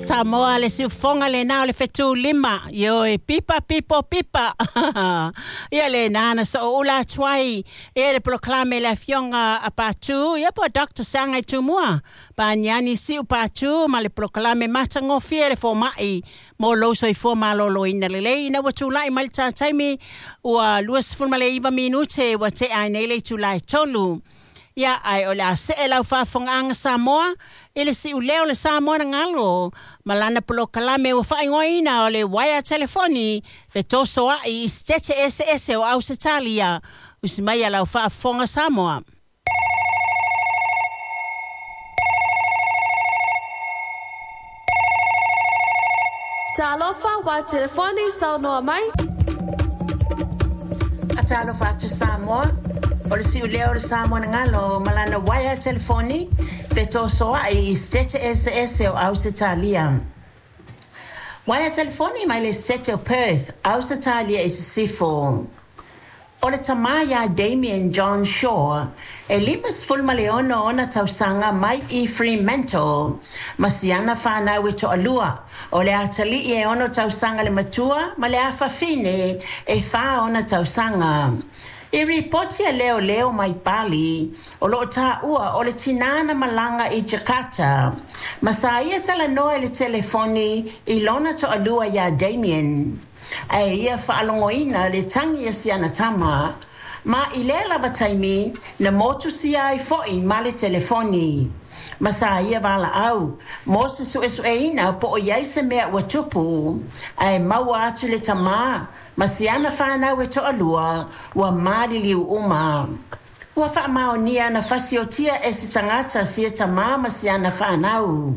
Samoa le siufofoga lena o le fetulima, ioe, pipa pipo pipa. Ia lena na sooula atu ai e le polokalame le afioga a Patu, ia po Dr. Saga Tumua, Paniani Siu Patu ma le polokalame matagofie le fomai mo lou soifua malōlōina lelei. Ina ua tula'i mai le tā taimi ua 29 minute ua te'a ai nei le itulā e 3. Ia, ae o le a se'e lau faafofogaaga Samoa i le si'uleo o le Samoa na galo ma lana polokalame ua faaigoaina o le uaea telefoni fetosoa'i i Setete eseese o Ausetalia. Usi mai a lau faafofoga Samoa. Talofa wa telefoni saunoa mai. Talofa atu Samoa, o le si'uleo o le Samoa na galo ma lana uaea telefoni fetosoa'i i Setete eseese o Ausetalia. Uaea telefoni mai le Setete o Perth, Ausetalia i Sisifo. O le tamā iā Damien John Shaw, e 56 ona tausaga mai i Fremantle, ma siana fanau e toalua, o le atalii e 6 tausaga le matua ma le afafine e 4 ona tausaga. I ripoti a leoleo mai Bali, o loo taua o le tinā na malaga i Jakarta, ma sa ia talanoa i le telefoni i lona toalua iā Damien. Ae ia faalogoina le tagi a siana tama, ma i lea lava taimi na motusia ai fo'i ma le telefoni. Ma sa ia valaau mo se suesueina po o i ai se mea ua tupu, ae maua atu le tamā ma siana fanau e toalua ua maliliu uma. Ua faamaonia na fasiotia e se tagata sia tamā ma siana fanau.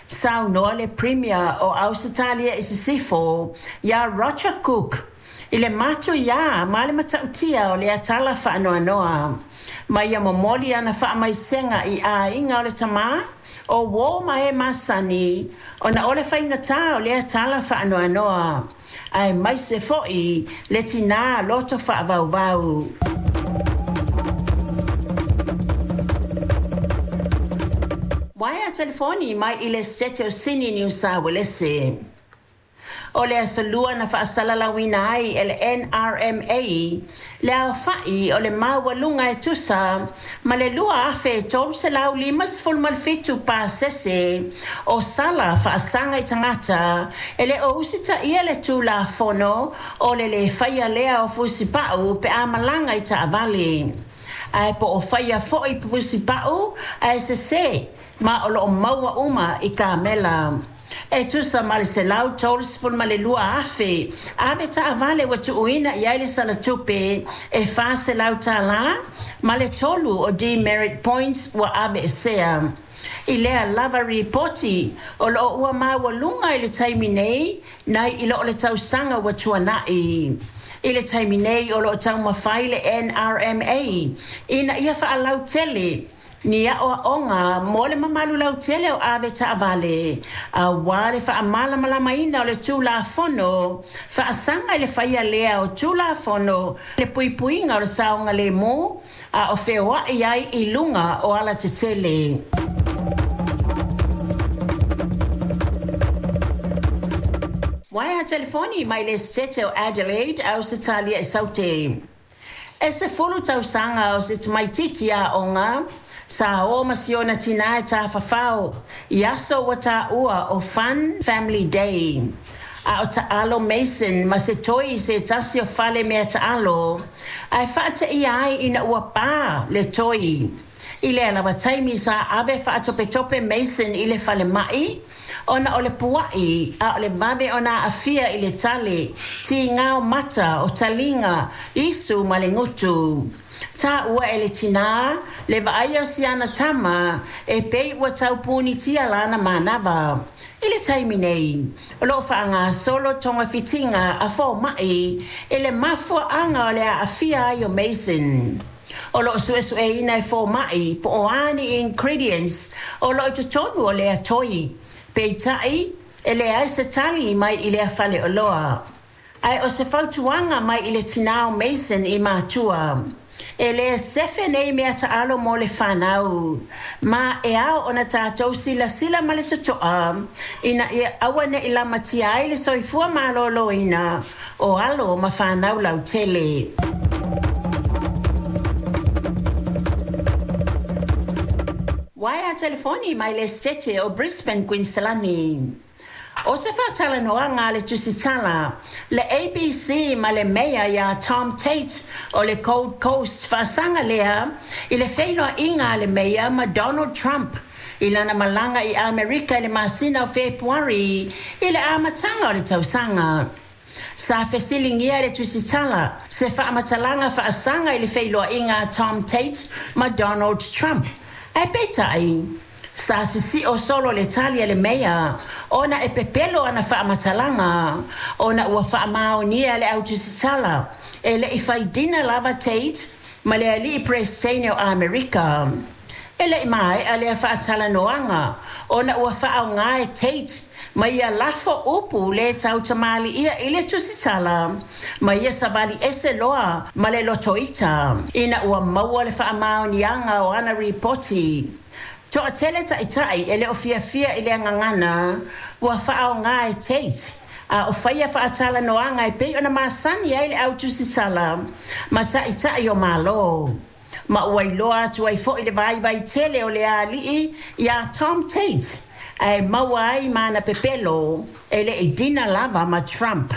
Saunoa le Premier o Ausetalia i Sisifo iā Roger Cook i le matuiā ma le matautia o lea tala faanoanoa. Ma ia momoli ana faamaisega i aiga o le tamā, o uō ma e masani, ona o le faigatā o lea tala faanoanoa, aemaise fo'i le tinā loto faavauvau. Uaea telefoni mai i le Setete o Sini Niu Sa Uelese. O le aso Lua na faasalalauina ai e le NRMA le aofa'i o le maualuga e tusa ma le 2,357 pasese o sala faasaga i tagata e le o usitaia le tulafono o le lē faia lea o fusipa'u pe a malaga i taavale. Ae po o faia fo'i fusipa'u ae sesē ma o loo maua uma i kamela. E tusa ma le 132,000 ave taavale ua tuuina i ai le sala tupe e $400 ma le 3 o demerit points ua aveesea. I lea lava ripoti o loo ua maualuga i le taimi nei nai i loo le tausaga ua tuana'i. I le taimi nei o loo taumafai le NRMA ina ia faalautele ni aʻoaʻoga mo le mamalu lautele o ave taavale auā le faamalamalamaina o le tulafono faasaga i le faia lea o tulafono le puipuiga o le saogalēmū a o feoaʻi ai i luga o alatetele. Uaea telefoni mai le Setete o Adelaide, Ausetalia i Saute. E 10 tausaga o se tamaititi aoga sa o ma siona tinā e tafafao i aso ua taua o Fun Family Day. A o taalo Mason ma se toi i se tasi o fale mea taalo, ae faateia ai ina ua pā le toi. I lea lava taimi sa ave faatopetope Mason i le falema'i ona o le pua'i a o le vave ona aafia i le tale, tigao mata o taliga, isu ma le gutu. Taua e le tinā le vaaia o siana tama e pei ua taupunitia lana manava. I le taimi nei, o loo faagasolo togafitiga a fomaʻi i le mafuaaga o le aafia ai o Mason. O loo suesueina e fomaʻi po o a ni ingredients o loo i totonu o lea toi. Peitai, e leai se tali mai i lea faleoloa. Ae o se fautuaga mai i le tinā o Mason i matua. E lē sefe nei meataalo mo le fanau, ma e ao ona tatou silasila ma le totoa ina ia aua ne'i lamatia ai le soifua maloloina o alo ma fanau lautele. Uaea telefoni mai le Setete o Brisbane, Kuiniselani. ʻO se faatalanoaga a le tusitala, le ABC ma le Meia iā Tom Tate o le Gold Coast faasaga lea i le feiloaiga a le Meia ma Donald Trump i lana malaga i Amerika i le masina o Fepuari i le amataga o le tausaga. Sa fesiligia e le tusitala se faamatalaga faasaga i le feiloaiga a Tom Tate ma Donald Trump, ae peitai, Sa sisio solo le tali a le Meia ona e pepelo ana faamatalaga ona ua faamaonia e le au tusitala e le i fai dina lava Tate ma le alii Peresitene o Amerika. E le i maea lea faatalanoaga ona ua faaaoga e Tate ma ia lafo upu lē tautamaliia i le tusitala ma ia savali ese loa ma le lotoita ina ua maua le faamaoniaga o ana ripoti. Toatele taʻitaʻi e le o fiafia i lea gagana ua faaaoga e Tate a o faia faatalanoaga e pei ona masani ai le au tusitala ma taʻitaʻi o Malo. Ma ua iloa atu ai foi le vaivai tele o le alii iā Tom Tate ae maua ai ma ana pepelo e le i dina lava ma Trump.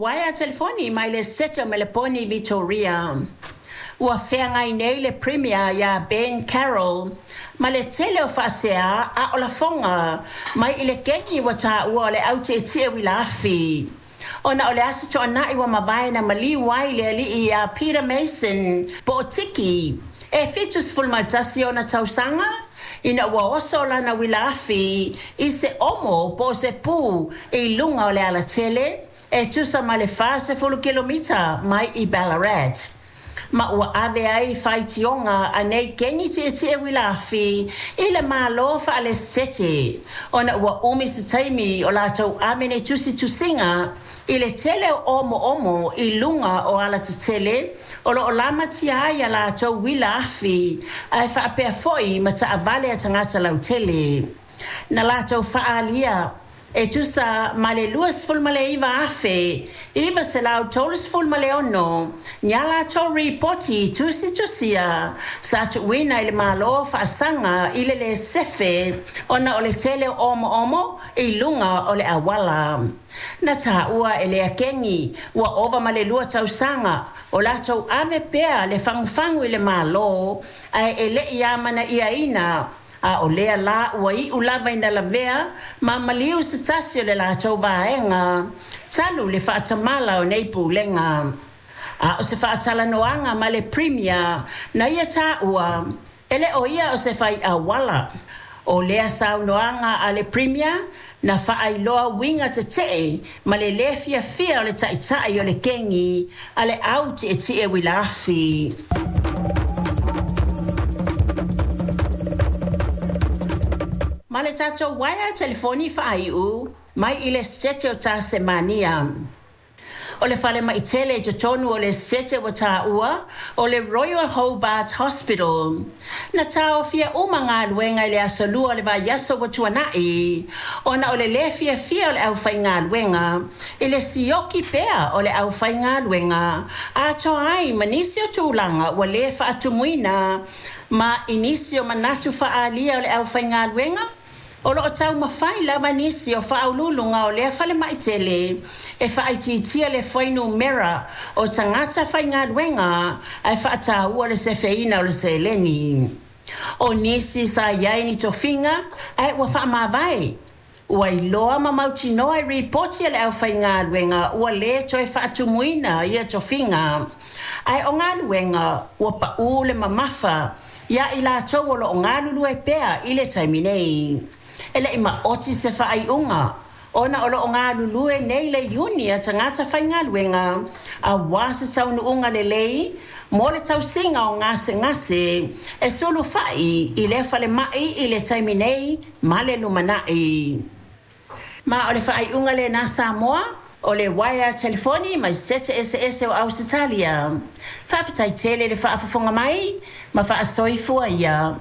Uaea telefoni mai le Setete o Meleponi, Vitoria. Ua feagai nei le Premier iā Ben Carroll ma le tele o faasea a o lafoga mai i le kegi ua taua o le au tietie uila afi. Ona o le Aso Toonai ua mavae na maliu ai le alii iā Peter Mason po o Tiki, e 71 ona tausaga, ina ua oso lana uila afi i se omo po o se pu i luga o le alatele e tusa ma le 40 kilomita mai i Ballarat. Ma ua ave ai faitioga a nei kegi tietie uila afi i le Malo faalesitete ona ua umi se taimi o latou ave nei tusitusiga i le tele o omoomo i luga o alatetele o lo o lamatia ai a latou uila afi ae faapea foi ma taavale a tagata lautele. Na latou faaalia e tusa ma le 29,936 ni a latou ripoti tusitusia sa tuuina i le Malo faasaga i le lē sefe ona o le tele o omoomo i luga o le auala. Na taua e lea kegi ua ova ma le 2 tausaga o latou ave pea le fagufagu i le Malo ae e le i amanaiaina, a o lea la ua iu lava ina lavea ma maliu se tasi o le latou vaega talu le faatamala o nei pulega. A o se faatalanoaga ma le Premier na ia taua e le o ia o se fai auala. ʻO lea saunoaga a le Premier na faailoa uiga tetee ma le lē fiafia o le taʻitaʻi o le kegi a le au tietie uila afi. Ma le tatou uaea telefoni faaiu mai i le Setete o Tasemania. O le falemai tele i totonu o le Setete ua taua o le Royal Hobart Hospital. Na taofia uma galuega i le aso Lua o le vaiaso ua tuanai ona o le lē fiafia o le aufaigaluega i le sioki pea o le aufaigaluega atoa ai ma nisi o tulaga ua lē faatumuina ma i nisi o manatu faaalia o le aufaigaluega. O lo o taumafai lava nisi o faauluuluga o lea falemai tele e faaitiitia le fuainumera o tagata faigaluega ae faataua le sefeina o le seleni. O nisi sa i ai ni tofiga ae ua faamavae, ua iloa ma mautinoa i ripoti a le aufaigaluega ua lē toe faatumuina ia tofiga, ae o galuega ua paū le mamafa iā i latou o lo o galulue pea i le taimi nei. E le i maoti se faaiuga ona o lo o galulue nei le iuni a tagata faigaluega auā se taunuuga lelei mo le tausiga o gasegase e sulufai i lea falemai i le taimi nei ma le lumanai. Ma o le faaiuga lenā Samoa. O le uaea telefoni mai Setete eseese o Ausetalia. Faafetai tele le faafofoga mai ma faasoifua ia.